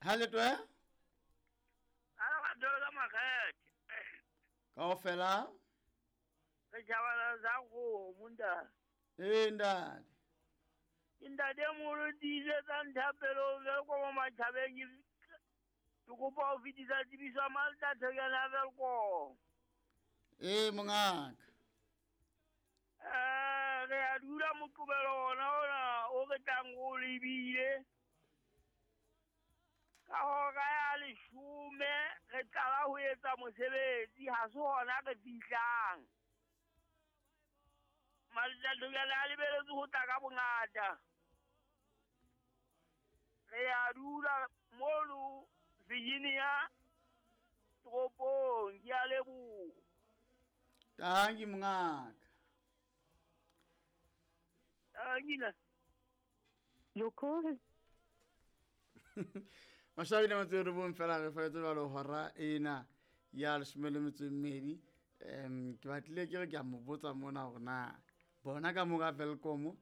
Ha le toe? Ala ka dolo ka makgethe. Kaofela? Re tjhabana sa kgomo ntate. Ee ntate. Ke ntate moholo tiisetsang thapelo Welkom matjhabeng ke kopa ho fetisa tsebiso ya Malta Thekane ya Welkom. Ee mongaka. Re a dula Moqebelo ona ona o re tlang o lebile. Ka hora ya 10 re qala ho etsa mosebetsi, ha se hona re fihlang. Malta Thekane a lebeletse ho tla ka bongata. Re a dula mono Virginia toropong, ke a leboha. Tanki mongaka. Tanki. Your call has Mashabile motse re bong fela re fetse jwalo hora ena ya 12. Ke batlile ke re ke a mo botsa mona hore na bona ka mo ka Welkom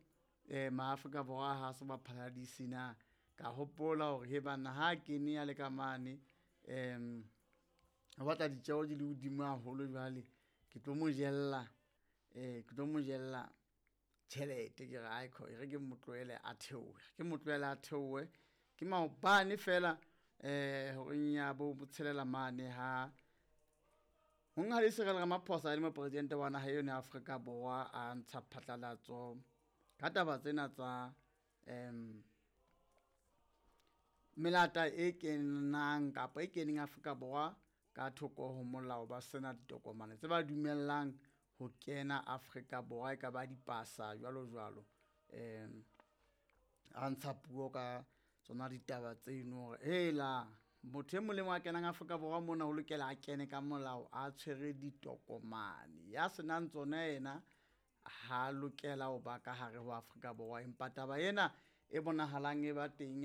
maAfrika Borwa ha se ba phaladisi na. Ka hopola hore he bana ha kene ya le ka mane o batla ditjeo di le hodimo haholo jwale ke tlo mo jella ke tlo mo jella tjhelete ke re ai kho e re ke mo tlohele a theohe ke mo tlohele a theohe ke maobane fela horeng ya bo tshelela mane ha monghadi Cyril Ramaphosa le mopresidente wa naha eno ya Afrika Borwa a ntsha phatlalatso ka taba tsena tsa melata e kenang kapa e keneng Afrika Borwa ka thoko ho molao ba sena ditokomane tse ba dumellang ho kena Afrika Borwa e ka ba dipasa jwalo jwalo. A ntsha puo ka tsona ditaba tseno hore hela motho e mong le mong a kenang Afrika Borwa mona o lokela a kene ka molao a tshwere ditokomane ya senang tsona yena ha lokela ho ba ka hare ho Afrika Borwa. Empa taba ena e bonahalang e ba teng.